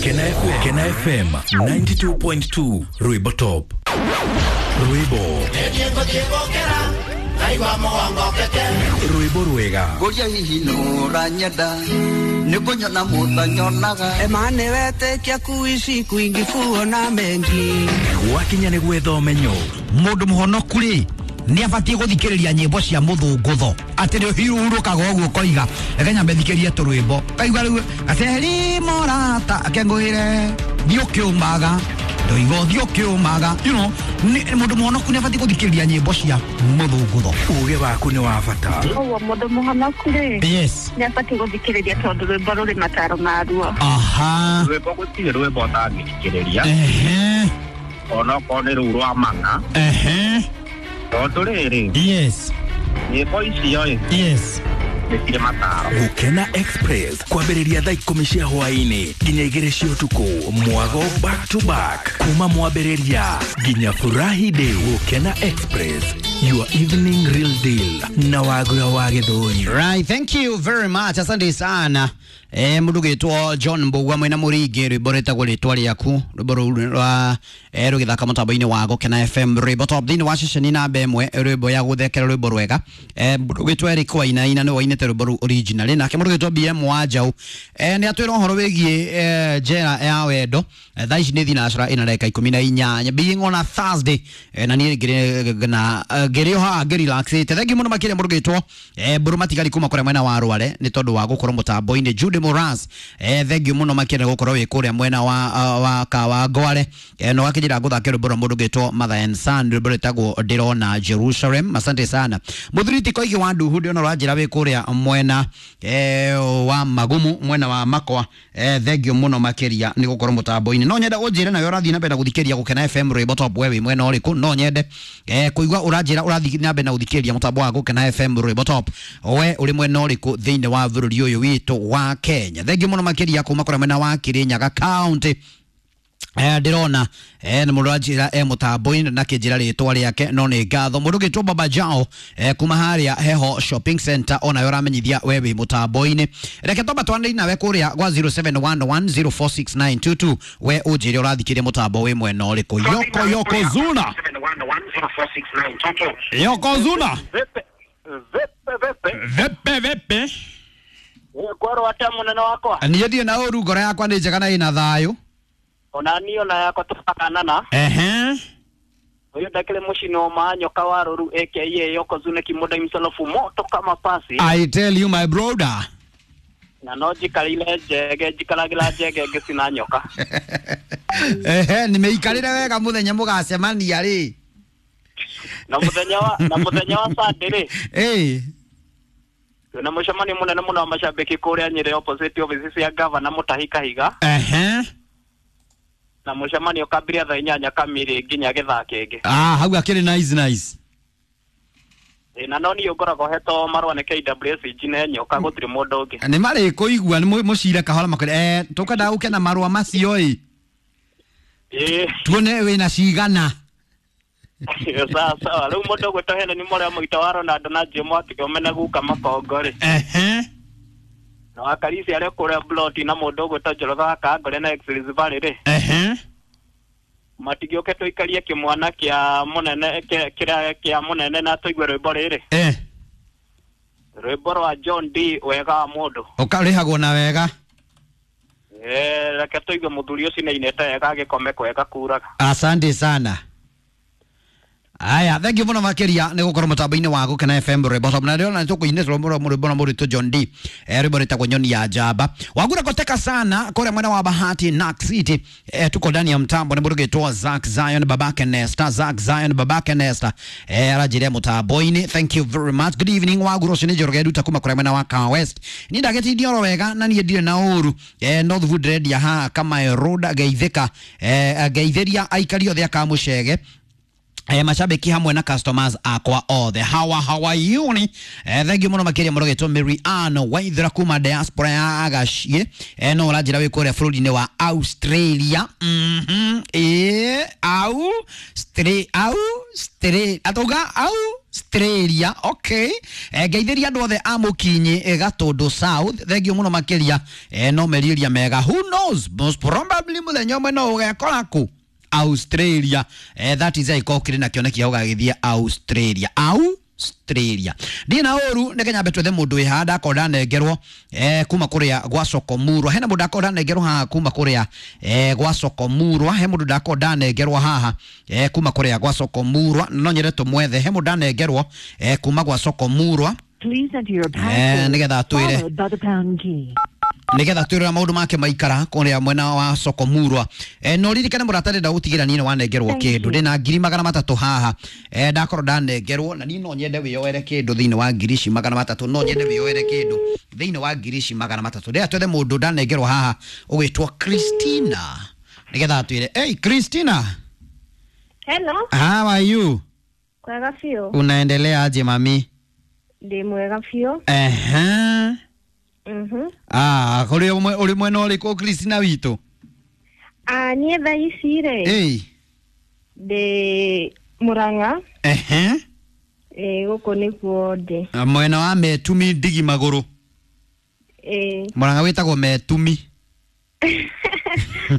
Gukena FM 92.2 Rwimbo Top. Rwimbo. Rwimbo rwega. Ngoria hihi nũranyenda nĩngũnyona mũthanyonaga Emane wetekia kuishi kwingi kuona mengi. Gwakinya nĩ gwetha ũmenyo. Mũndũ mũhonoku rĩ nĩ abatiĩ gũthikĩrĩria nyĩmbo cia mũthũngũtho atĩ nĩ ũhurũkaga ũguo ũkoiga reke nyambe thikĩrie tũrwĩmbo kaigua rĩu gaceri morata akengũĩre thiĩ ũkĩũmaga ndoiga ũthiĩ ũkĩũmaga you know mũndũ mũhonoku nĩ abatiĩ gũthikĩrĩria nyĩmbo cia mũthũngũtho. Uge waku nĩ wa bata. Ũguo mũndũ mũhonoku rĩ Yes. nĩ abatiĩ gũthikĩrĩria tondũ rwĩmbo rũrĩ mataro maruo. Aha. Rwĩmbo gũtirĩ rwĩmbo ũtangĩthikĩrĩria. Ehe. Onokorwo nĩ rũu rwa mang'a. Ehe. Tondũ rĩrĩ. Yes. Nyĩmbo icio ĩ. Yes. Nĩ cirĩ mataro. Gukena Express kwambĩrĩria thaa 10 cia hwaĩ-inĩ nginya 2 cia ũtukũ mwago back to back kuma mwambĩrĩria nginya furahi day. Gukena Express, your evening real deal na Wagura wa Gĩthũri. Right, thank you very much. Asante sana. Mundu gitwo John Mbugua mwena muringi rwimbo rwitagwo ritwa riaku rwimbo rũu rwa rũgĩthaka mũtambo-inĩ wa Gũkena FM rwimbo top thĩinĩ wa ceceni namba ĩmwe rwimbo ya gũthekera rwimbo rwega. Mũndũ ũgĩtwo Eric Wainaina nĩwe wainĩte rwimbo rũu originally nake mũndũ ũgĩtwo BM Wanjaũ nĩ atwĩra ũhoro wĩgiĩ njera ya wendo. Thaa ici nĩ thinacara ĩna ndagĩka 18 being on a Thursday na niĩ ngĩrĩ na ngĩrĩ o haha ngĩrelaxĩte. Thank you mũno makĩria mũndũ ũgĩtwo Mbũrũ Matigari kuma kũrĩa mwena wa Rware nĩ tondũ wa gũkorwo mũtambo-inĩ. Jude Moras thank you mũno makĩria gũkorwo wĩ kũrĩa mwena wa Kawangware na ũgakĩnjĩra ngũthake rwĩmbo rwa mũndũ ũgĩtwo Mother and Son rwĩmbo rwĩtagwo Ndĩrona Jerusalem. Asante sana mũthuri ti Koigi wa Nduhu ndĩrona ũranjĩra wĩ kũrĩa mwena wa Magumu mwena wa Makwa. Thank you mũno makĩria nĩ gũkorwo mũtambo-inĩ. No nyende ũnjĩre nawe ũrathiĩ na mbere na gũthikĩrĩria Gũkena FM rwĩmbo top we wĩ mwena ũrĩkũ. No nyende kũigua ũranjĩra ũrathiĩ na mbere na gũthikĩrĩria mũtambo wa Gũkena FM rwĩmbo top we ũrĩ mwena ũrĩkũ thĩinĩ wa bũrũri ũyũ witũ wa Kenya. Thank you mũno makĩria kuma kũrĩa mwena wa Kirinyaga County. Ndĩrona nĩ mũndũ anjĩra mũtambo-inĩ na kĩnjĩra rĩtwa rĩake no nĩ ngatho. Mũndũ ũgĩtwo Baba Jao kuma harĩa Heho Shopping Center onawe ũramenyithia we wĩ mũtambo-inĩ. Reke twamba twanĩrie nawe kũrĩa gwa 0711046922 we ũnjĩre ũrathikĩria mũtambo wĩ mwena ũrĩkũ. Yoko Yoko Zuna. Yoko Zuna. Vepe vepe. Vepe vepe. Ngorwo atĩa mũnene wakwa? Niĩ ndirĩ na ũru, ngoro yakwa nĩ njega na ĩna thayũ. Ona niĩ ona yakwa tũkakanana. Ehe. Ũyũ ndakĩrĩ mũcino ma nyoka wa rũru aka Yoko Zuna kimoda himself moto kama pasi. I tell you my brother. Na no njikarĩire njege njikaragĩra njege ngĩcina nyoka. Ehe, nimeikarĩre wega mũthenya mũgacemania rĩ. Na mũthenya wa Sunday rĩ. Ĩĩ. Twĩna mũcemanio mũnene mũno wa macambĩki kũrĩa Nyĩrĩ opposite office cia gavana Mũtahi Kahiga. Ehe. Na mũcemanio ũkambiria thaa 8 kamiri nginya gĩthaa kĩngĩ. Ah, hau akĩrĩ nice nice. Na no niĩ ngoragwo hetwo marũa nĩ KWS ne nyoka gũtirĩ mũndũ ũngĩ. Nĩ marĩ kũigua nĩ mũcire kahora makwĩre tũkwenda ũke na marũa macio ĩ. Ĩĩ. Tuone wĩna cigana. Sawa sawa. Rĩu mũndũ ũgwĩtwo Helen Mũrĩa mũita wa Ronaldo na Jim Wakĩome na guka Makongo rĩ. Ehe. Na wakarisi arĩa kũrĩa Bloti na mũndũ ũgwĩtwo Njoroge wa Kangore na Express Valley rĩ. Ehe. Matigĩũke tũikarie kĩmwana kĩa mũnene kĩrĩa kĩa mũnene na tũigue rwĩmbo rĩrĩ. Rwĩmbo rwa John D wega wa mũndũ. Ũkarĩhagwo na wega. Reke tũigue mũthuri ũcio nĩainĩte wega agĩkome kwega kuraga. Asante sana. Aya, thank you mũno makĩria nĩ gũkorwo mũtambo-inĩ wa Gũkena FM rwĩmbo top na ndĩrona nĩtũkũinĩtwo rwĩmbo rwa mũritũ John D rwĩmbo rwĩtagwo Nyoni ya Njamba. Wagura koteka sana kũrĩa mwena wa Bahati Nax City tuko ndani ya mtambo nĩ mũndũ ũgĩtwo Zack Zion babake Nesta. Zack Zion babake Nesta aranjĩra mũtambo-inĩ. Thank you very much. Good evening Wagura, ũcio nĩ Njoroge Nduta kuma kũrĩa mwena wa Kahawa West. Niĩ ndagĩtindia oro wega na niĩ ndirĩ na ũru. Northwood ndĩrendia haha Kamae Road ngeithĩka ngeithĩria aikari othe a Kamũcege mashabiki hamwe na customers akwa othe. How are you ni? Thank you mũno makĩria mũno gĩtwo Mary Ann Waithera kuma diaspora ya Agaciĩ no ũranjĩra wĩ kũrĩa bũrũri-inĩ wa Australia. Ĩĩ, au, stre, au, stre, atauga au Australia. Okay, ngeithĩria andũ othe a Mũkinyi, Gatũndũ South, thengio mũno makĩria. No merirĩria mega, who knows, most probably mũthenya ũmwe no ũgekora kũ Australia. That is angĩkorwo ũkĩrĩ na kĩoneki gĩa gũgagĩthiĩ Australia. Australia ndirĩ na ũru, nĩ nyambe twethe mũndũ wĩ haha ndakorwo ndanengerwo kuma kũrĩa gwa Sokomurwa. Hena mũndũ ndakorwo ndanengerwo haha kuma kũrĩa gwa Sokomurwa. He mũndũ ndakorwo ndanengerwo haha kuma kũrĩa gwa Sokomurwa, no nyende tũmwethe. He mũndũ ndanengerwo kuma gwa Sokomurwa. Please enter your password Nĩgetha atwĩre followed by the pound key. Nigetha twĩrora maũndũ make maikara kũrĩa mwena wa Sokomurwa. No ririkane mũrata, ndĩrenda gũtigĩra niĩ nĩ wanengerwo Thank kĩndũ. you. Ndĩna 300,000 haha, ndakorwo ndanengerwo, na niĩ no nyende wĩyoere kĩndũ thĩinĩ wa 300,000. No nyende wĩyoere kĩndũ thĩinĩ wa 300,000. Ndĩrenda twethe mũndũ ndanengerwo haha ũgwĩtwo Christina, nigetha atwĩre. Hey Christina. Hello. How are you? Kwega biũ. Unaendelea aje mami? Ndĩ mwega biũ. Ehe. Ah, kũrĩ ũrĩ mwena ũrĩkũ, Christina witũ? Ah, niĩ thaa ici rĩ, Hey. ndĩ Mũrang'a. Ehe. Ĩ, gũkũ nĩkuo ndĩ. Mwena wa Metumi ndigi magũrũ. Ĩ. Mũrang'a wĩtagwo Metumi.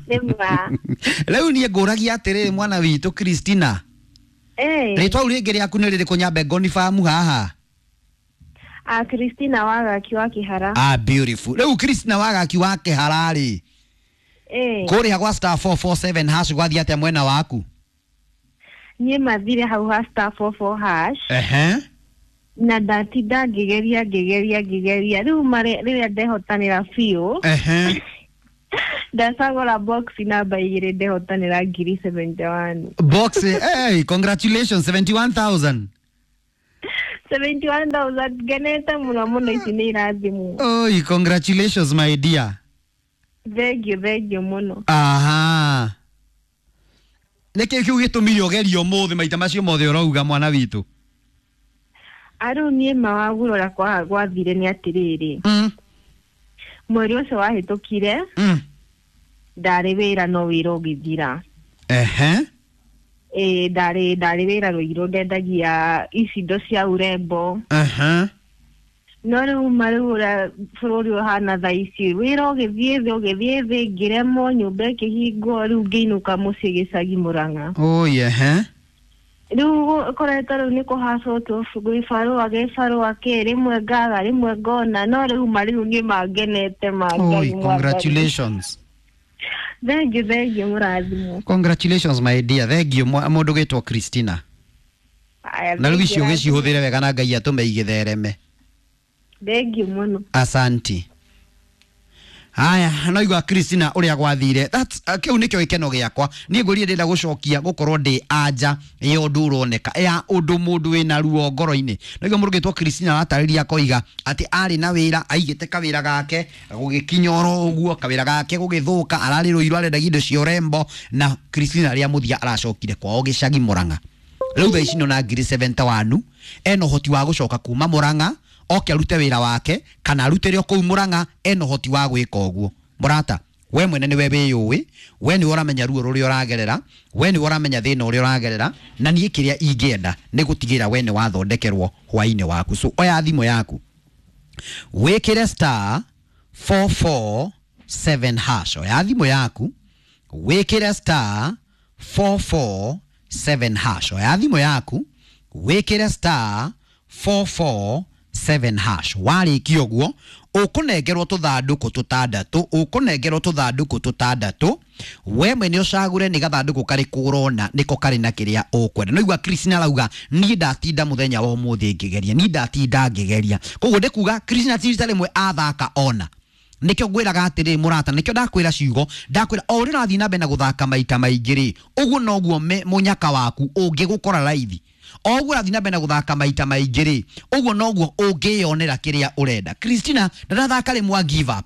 Nĩ ma. Rĩu niĩ ngũragia atĩrĩrĩ, mwana witũ Christina, Ĩ. rĩtwa rĩu rĩngĩ rĩaku nĩ rĩrĩkũ, nyambe ngonibamu haha? Ah, Christina Wagaki wa Kĩhara. Ah, beautiful. Rĩu Christina Wagaki wa Kĩhara rĩ, Ĩ. kũrĩa gwa *447# gwathiĩ atĩa mwena waku? Niĩ mathire hau ha *44#. Ehe. Na ndatinda ngĩgeria ngĩgeria ngĩgeria, rĩu rĩrĩa ndehotanĩra biũ, Ehe. ndacagũra box namba 2, ndehotanĩra 71,000. Box, hey, congratulations, 71,000. 71,000, ngenete mũno mũno, ici nĩ irathimwo. Oi, congratulations my dear. Thengio, thengio mũno. Aha. Nĩkĩ kĩu gĩtũmire ũgerie ũmũthĩ maita macio mothe ũrauga, mwana witũ? Arĩu niĩ mawagũra ũrĩa gwathire nĩ atĩrĩrĩ, mweri ũcio wahĩtũkire ndarĩ wĩra, no wĩra ũgĩthira. Ehe. Ĩ, ndarĩ wĩra Rũirũ, ndendagia ici indo cia urembo. Ehe. No rĩu ma rĩu ũrĩa bũrũri ũhana thaa ici, wĩra ũgĩthiĩ thĩ, ũgĩthiĩ thĩ, ngĩremwo, nyũmba ĩkĩhingwo, rĩu ngĩinũka mũciĩ gĩcagi Mũrang'a. Oi, ehe. Rĩu ũkoretwo rĩu nĩ kũhacwo tu gĩbarũa gĩbarũa kĩ, rĩmwe ngaga, rĩmwe ngona, no rĩu ma rĩu niĩ mangenete ma Oi, Ngai mwathani. congratulations. Thengio, thengio, mũrathimwo. Congratulations my dear. Thank you mũndũ gwĩtwo Christina. Aya, Na rĩu thengio, icio rathimwo. ũgĩcihũthĩre wega na Ngai atũme igĩthereme. Thengio mũno. Asanti. Haya, no igua Christina ũrĩa gwathire. That's kĩu nĩkĩo gĩkeno gĩakwa. Niĩ ngũria ndĩrenda gũcokia gũkorwo ndĩ anja ya ũndũ ũroneka ya ũndũ mũndũ wĩna ruo ngoro-inĩ. No igua mũndũ ũgĩtwo Christina aratarĩria akoiga atĩ arĩ na wĩra, aigĩte kawĩra gake gũgĩkinya oro ũguo, kawĩra gake gũgĩthũka, ararĩ Rũirũ arendagia indo cia ũrembo, na Christina rĩa mũthia aracokire kwao gĩcagi Mũrang'a. Rĩu thaa ici nĩ 71,000, ena ũhoti wa gũcoka kuma Mũrang'a oke arute wĩra wake kana arutĩre o kũu Mũrang'a, ena ũhoti wa gwĩka ũguo. Mũrata, we mwene nĩwe wĩyũĩ, we nĩwe ũramenya ruo rũrĩa ũragerera, we nĩwe ũramenya thĩna ũrĩa ũragerera, na niĩ kĩrĩa ingĩenda nĩ gũtigĩrĩra we nĩ wathondekerwo hwainĩ waku. So oya thimũ yaku, wĩkĩre *447#. Oya thimũ yaku, wĩkĩre *447#. Oya thimũ yaku, wĩkĩre *447#. Warĩkia ũguo, ũkũnengerwo tũthandũkũ tũtandatũ, ũkũnengerwo tũthandũkũ tũtandatũ. We mwene ũcagũre nĩ gathandũkũ karĩkũ ũrona nĩko karĩ na kĩrĩa ũkwenda. No igua Christina arauga niĩ ndatinda mũthenya wa ũmũthĩ ngĩgeria, niĩ ndatinda ngĩgeria. Koguo ndĩkuga Christina ti rita rĩmwe athaka ona. Nĩkĩo ngwĩraga atĩrĩ mũrata, nĩkĩo ndakwĩra ciugo, ndakwĩra o ũrĩa ũrathiĩ na mbere na gũthaka maita maingĩ rĩ, ũguo noguo mũnyaka waku ũngĩgũkora raithi. O ũguo ũrathiĩ na mbere na gũthaka maita maingĩ rĩ, ũguo noguo ũngĩyonera kĩrĩa ũrenda. Christina ndarathaka rĩmwe give up,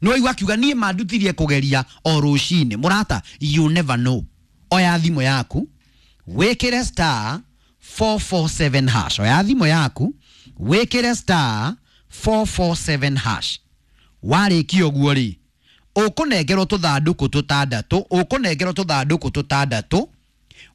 no igua akiuga niĩ mandutirie kũgeria o rũcinĩ. Mũrata, you never know. Oya thimũ yaku, wĩkĩre *447#. Oya thimũ yaku, wĩkĩre *447#. Warĩkia ũguo rĩ, ũkũnengerwo tũthandũkũ tũtandatũ, ũkũnengerwo tũthandũkũ tũtandatũ.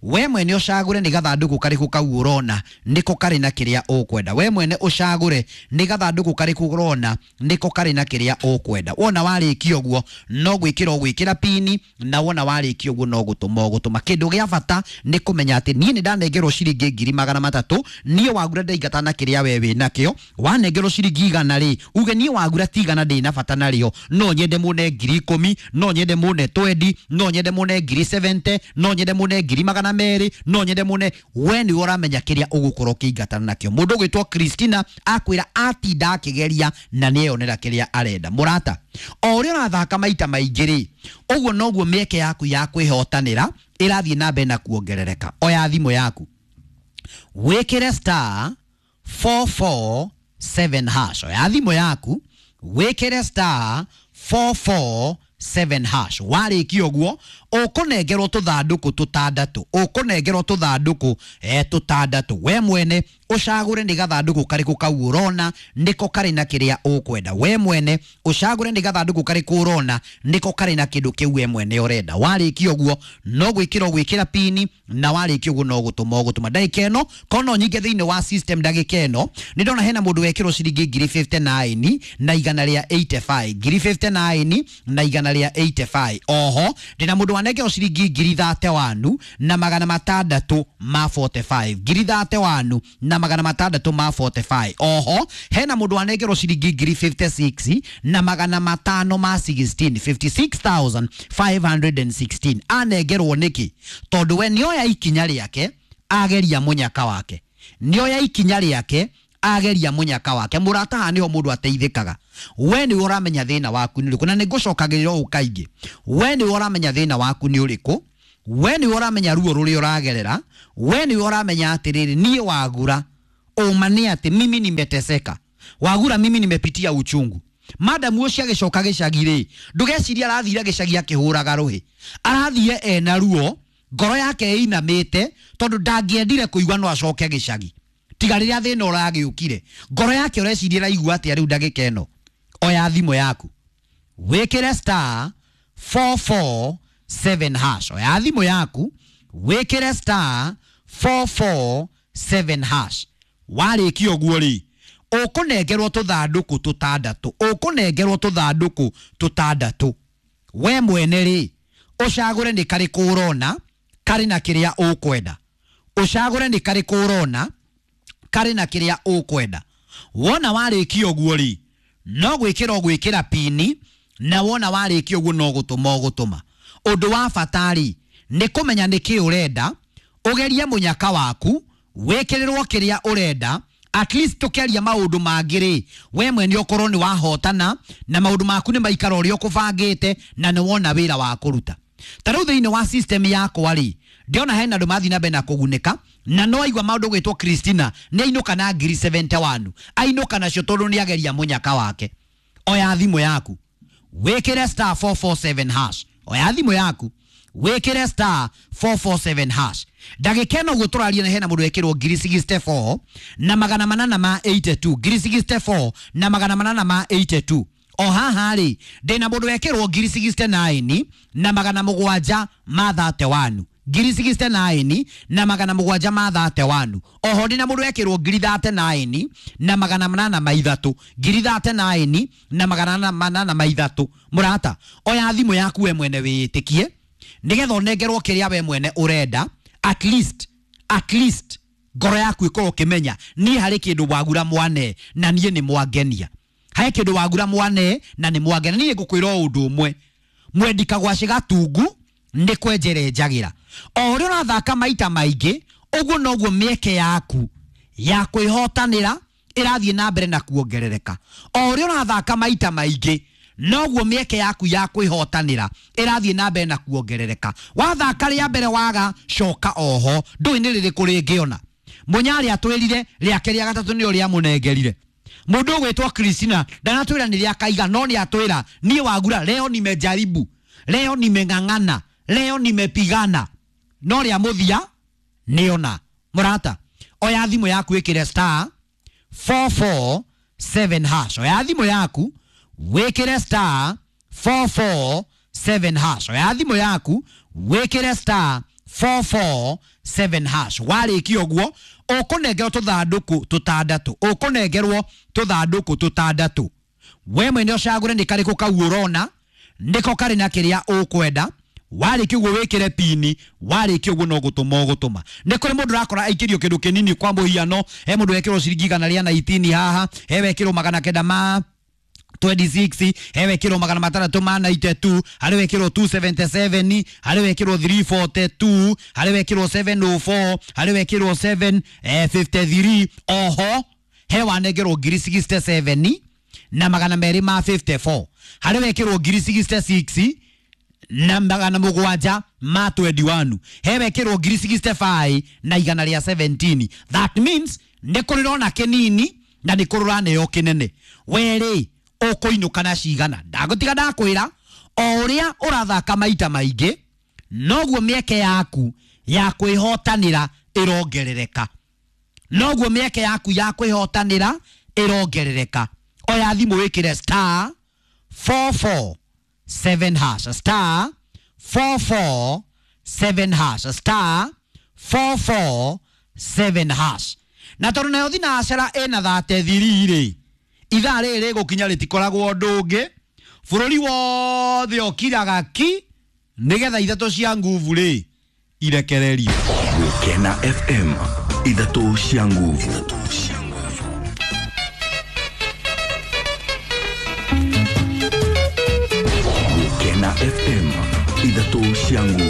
We mwene ũcagũre nĩ gathandũkũ karĩkũ kau ũrona nĩko karĩ na kĩrĩa ũkwenda. We mwene ũcagũre nĩ gathandũkũ karĩkũ ũrona nĩko karĩ na kĩrĩa ũkwenda. Wona warĩkia ũguo no gwĩkĩra ũgwĩkĩra pini, na wona warĩkia ũguo no gũtũma ũgũtũma. Kĩndũ gĩa bata nĩ kũmenya atĩ niĩ nĩ ndanengerwo ciringi 300,000, niĩ Wagura ndaingata na kĩrĩa we wĩ nakĩo. Wanengerwo ciringi 100 rĩ, uge niĩ Wagura ti 100 ndĩ na bata narĩo, no nyende mũne 10,000, no nyende mũne 20, no nyende mũne 70,000, no nyende mũne 200,000, no nyende mũne. We nĩwe ũramenya kĩrĩa ũgũkorwo ũkĩingatana nakĩo. Mũndũ ũgwĩtwo Christina akwĩra atinda akĩgeria na nĩeyonera kĩrĩa arenda. Mũrata, o ũrĩa ũrathaka maita maingĩ rĩ, ũguo noguo mĩeke yaku ya kwĩhotanĩra ĩrathiĩ na mbere na kuongerereka. Oya thimũ yaku wĩkĩre star 447 hash. Oya thimũ yaku wĩkĩre star 447 hash. Warĩkia ũguo ũkũnengerwo tũthandũkũ tũtandatũ, ũkũnengerwo tũthandũkũ tũtandatũ. We mwene ũcagũre nĩ gathandũkũ karĩkũ kau ũrona nĩko karĩ na kĩrĩa ũkwenda. We mwene ũcagũre nĩ gathandũkũ karĩkũ ũrona nĩko karĩ na kĩndũ kĩu we mwene ũrenda. Warĩkia ũguo no gwĩkĩra ũgwĩkĩra pini, na warĩkia ũguo no gũtũma ũgũtũma. Ndagĩka ĩno kono nyingĩ thĩinĩ wa system, ndagĩka ĩno nĩ ndona hena mũndũ wekĩrwo ciringi 59,185, 59,185 na 185. Oho ndĩna mũndũ wanengerwo ciringi 31,645, 31,645. Oho hena mũndũ wanengerwo ciringi 56,516, 56,516. Anengerwo nĩkĩ? Tondũ we nĩoya ikinya rĩake ageria mũnyaka wake, nĩoya ikinya rĩake ageria mũnyaka wake. Mũrata, haha nĩho mũndũ ateithĩkaga. We nĩwe ũramenya thĩna waku nĩ ũrĩkũ, na nĩngũcokagĩrĩra ũũ kaingĩ. We nĩwe ũramenya thĩna waku nĩ ũrĩkũ, we nĩwe ũramenya ruo rũrĩa ũragerera, we nĩwe ũramenya atĩrĩrĩ, niĩ Wagura ũma nĩ atĩ mimi nimeteseka, Wagura mimi nimepitia uchungu. Madamu ũcio agĩcoka gĩcagi rĩ, ndũgeciria arathire gĩcagi akĩhũraga rũhĩ, arathire ena ruo, ngoro yake ĩinamĩte, tondũ ndangĩendire kũigua no acoke gĩcagi tiga rĩrĩa thĩna ũragĩũkire. Ngoro yake ũreciria ĩraigua atĩa rĩu ndagĩka ĩno? Oya thimũ yaku wĩkĩre star 447 hash. Oya thimũ yaku wĩkĩre star 447 hash. Warĩkia ũguo rĩ, ũkũnengerwo tũthandũkũ tũtandatũ, ũkũnengerwo tũthandũkũ tũtandatũ. We mwene rĩ, ũcagũre nĩ karĩkũ ũrona karĩ na kĩrĩa ũkwenda. Ũcagũre nĩ karĩkũ ũrona karĩ na kĩrĩa ũkwenda. Wona warĩkia ũguo rĩ, no gwĩkĩra ũgwĩkĩra pini, na wona warĩkia ũguo no gũtũma ũgũtũma. Ũndũ wa bata rĩ, nĩ kũmenya nĩkĩ ũrenda, ũgerie mũnyaka waku, wĩkĩrĩrwo kĩrĩa ũrenda. At least tũkĩaria maũndũ mangĩ rĩ, we mwene ũkorwo nĩ wahotana na maũndũ maku nĩ maikara ũrĩa ũkũbangĩte na nĩ wona wĩra wa kũruta. Ta rĩu thĩinĩ wa system yakwa rĩ, ndĩona hena andũ mathiĩ na mbere na kũgunĩka, na no aigua maũndũ gwĩtwo Christina nĩ ainũka na 71,000, ainũka nacio tondũ nĩ ageria mũnyaka wake. Oya thimũ yaku wĩkĩre star 447 hash. Oya thimũ yaku wĩkĩre star 447 hash. Ndagĩka ĩno ũguo tũraria na hena mũndũ wekĩrwo 64,882, 64,882. O haha rĩ, ndĩna mũndũ wekĩrwo 69,731, 69,731. Oho ndĩna mũndũ wekĩrwo 39,803, 39,803. Mũrata, oya thimũ yaku we mwene wĩĩtĩkie nĩgetha ũnengerwo kĩrĩa we mwene ũrenda. At least, at least ngoro yaku ĩkorwo ũkĩmenya niĩ harĩ kĩndũ Wagura mwane na niĩ nĩ mwangenia. Harĩ kĩndũ Wagura mwane na nĩ mwangenia. Niĩ ngũkwĩra o ũndũ ũmwe, mwendi kagwacĩ gatungu nĩ kwenjere njagĩra. O ũrĩa ũrathaka maita maingĩ, ũguo noguo mĩeke yaku ya kwĩhotanĩra ĩrathiĩ na mbere na kuongerereka. O ũrĩa ũrathaka maita maingĩ, noguo mĩeke yaku ya kwĩhotanĩra ĩrathiĩ na mbere na kuongerereka. Wathaka rĩa mbere waga, coka oho, ndũĩ nĩ rĩrĩkũ rĩngĩona. Mũnyarĩ atwĩrire rĩake rĩa gatatũ nĩrĩo rĩamũnengerire. Mũndũ ũgwĩtwo Christina ndanatwĩra nĩ rĩa kaiga, no nĩ atwĩra niĩ Wagura leo nimejaribu, leo nimeng'ang'ana, leo nimepigana, no rĩa mũthia nĩona. Mũrata, oya thimũ yaku ĩkĩre star 447 hash. Oya thimũ yaku wĩkĩre star 447 hash. Oya thimũ yaku wĩkĩre star 447 hash. Warĩkia ũguo ũkũnengerwo tũthandũkũ tũtandatũ, ũkũnengerwo tũthandũkũ tũtandatũ. We mwene ũcagũre nĩ karĩkũ kau ũrona nĩko karĩ na kĩrĩa ũkwenda. Warĩkia ũguo wĩkĩre pini, warĩkia ũguo no gũtũma ũgũtũma. Nĩ kũrĩ mũndũ ũrakora aikĩrio kĩndũ kĩnini, kwa mũhiano he mũndũ wekĩrwo ciringi 119 haha, he wekĩrwo 926, he wekĩrwo 692, harĩ wekĩrwo 277, harĩ wekĩrwo 342, harĩ wekĩrwo 704, harĩ wekĩrwo 753. Oho he wanengerwo ngiri 67 na 254, harĩ wekĩrwo ngiri 66 na 721, he wekĩrwo ngiri 65 na 117. That means nĩ kũrĩ rona kĩnini na nĩ kũrĩ ũraneo kĩnene. Werĩ ũkũinũka na cigana? Ndagũtiga ndakwĩra, o ũrĩa ũrathaka maita maingĩ noguo mĩeke yaku ya kwĩhotanĩra ĩrongerereka, noguo mĩeke yaku ya kwĩhotanĩra ĩrongerereka. Oya thimũ wĩkĩre star 447 hash, star 447 hash, star 447 hash. Na tondũ nayo thinacera ĩna 33 rĩ, ithaa rĩrĩ rĩgũkinya rĩtikoragwo ũndũ ũngĩ, bũrũri wothe ũkiraga ki nĩgetha ithatũ cia nguvu rĩ irekererio. Gukena FM, ithatũ cia nguvu.